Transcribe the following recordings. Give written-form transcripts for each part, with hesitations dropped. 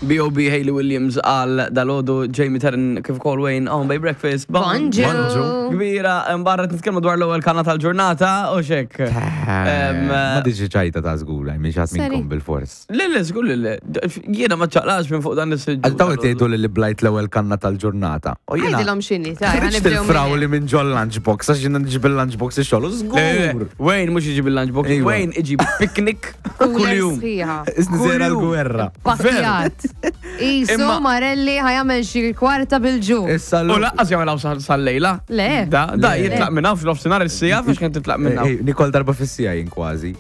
B.O.B. Hayley Williams għal dalodu Jamie Terren kif ukoll Wayne on Bay Breakfast. Bonġu. Bonġu. Kbira, barra nitkellmu dwar l-ewwel kanna tal-ġurnata u xek. Ma diġi ċajta ta' żgur, minn xatt Seri. minnkom bil-fors. Le, le, żgur li le. Jiena ma ċaqlax minn fuq dan is-siġġu. Għal daw qed jgħidu li li blajt l-ewwel kanna tal-ġurnata. U jiena Għidilhom x'inhi, ta' ħriġt ħanibdew minn il-frawli minn ġol lunchbox għax jiena nġib il-lunchbox ix-xogħol u żgur. Wayne mhux iġib il-lunchbox, Iva. Wayne iġib picnic cooler kuljum. sħiħa. Isni sejra Kuljum. l-gwerra. Pakkjat. Isu Imma- Marelli ħajamel xi kwarta bil-ġu. Issa U laqqas jagħmel hawn sal-lejla. Le. Da, da Le. jitlaq minn hawn fl-ofsinhar is-sija għax kien titlaq minn hawn. Nikol darba fis-sija jien kważi.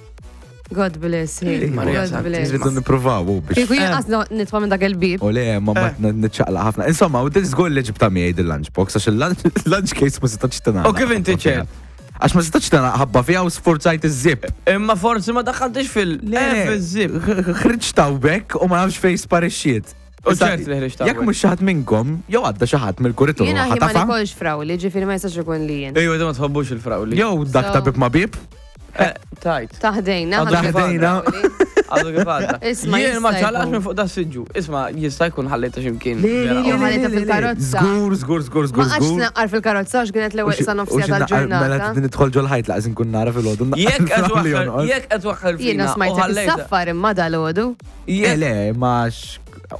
God bless him. Maria God Santi. bless. Nridu nippruvaw u biex. Kieku jien qas nitfa' minn dak il-bib. U le, ma ma nitċaqlaq ħafna. Insomma, u din żgur li ġibta miegħi dil-lunchbox għax il-lunch case ma setax tingħalaq. U kif inti ċert? Għax ma setax tingħalaq ħabba fiha u sforzajt iż-zip. Imma forsi ma daħħaltix fil- fil-zip. Ħriġt hawnhekk u ma nafx fejn sparixxiet. U Issa, ċert li ħriġt Jekk hawnhekk. mhux xi ħadd minnkom, jew għadda xi ħadd mill-kuritur Jiena ħi ma ħatafa, nikolx frawli, ġifieri ma jistax ikun li jien. Ejwa, ma tħobbux il-frawli. jew dak ta' So- bib ma bib. Eh, Tajt. Taħdejna. Għadu ħadd Taħdejna. frawli. Għadu kif għadda. Isma' Jien ma jista' ċalax jkun. minn fuq da siġġu. Isma' jista' jkun ħallejta x'imkien. Le, le, le, Jew le, ħallejta le, le, le. fil-karozza. Żgur, żgur, żgur, Ma żgur, għax żgur. naqqar fil-karozza għax kienet l-ewwel sa nofsija Mela tal-ġurnata. din idħol ġol ħajt laqas inkun nara fil-ħodu. Jekk qed waħħal, jekk qed waħħal fina. Jiena u smajtek ħallejta- is-saffar imma dal-għodu. Jekk- Le, ma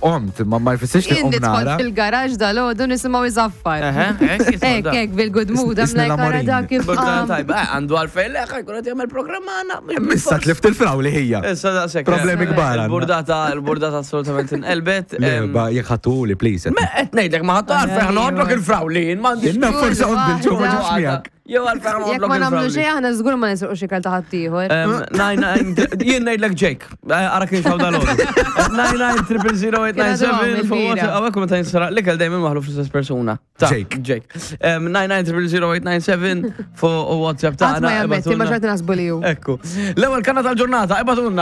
omt, ma ma jfissirx li Jien om nidħol nara. fil-garaġ dal-għodu nisimgħu iżaffar. Eħe, hekk jisma' Hekk, da. hekk, bil-good mood, I'm Isni like, ara l-amorin. dak kif Bordana qam. tajba, eh, għandu għalfejn le, ħajkun qed jagħmel programm għandna. mhux Issa bil-fors. tlift il-frawli ħija. Issa daqshekk. Problemi kbar għandna. Il-burdata, il-burdata assolutament inqelbet. Le, em, ba jekk ħattuli, please. Ma qed ngħidlek ma ħattu għalfejn ħanoqgħodlok il-frawli, jien m'għandix. Jenna forsi għod bil-ġu ma ġibx miegħek. Jew għalfejn Jekk ħanoqgħodlok ma nagħmlu il-frawli. xejn aħna żgur ma nisruqu xi kal ta' ħaddieħor. Em, nine, nine, Jien ngħidlek Jake, eh, ara kien xaw dal-għodu. 99 fuq WhatsApp, għawek meta jinsaraq l-ikel dejjem maħlu fl-istess persuna. Ta' Jake. Jake. Em, 99 fuq WhatsApp Qatt tagħna. ma jammetti ma ibatulna. xorta nasbu li hu. Ekku. L-ewwel kanna tal-ġurnata, ibatulna.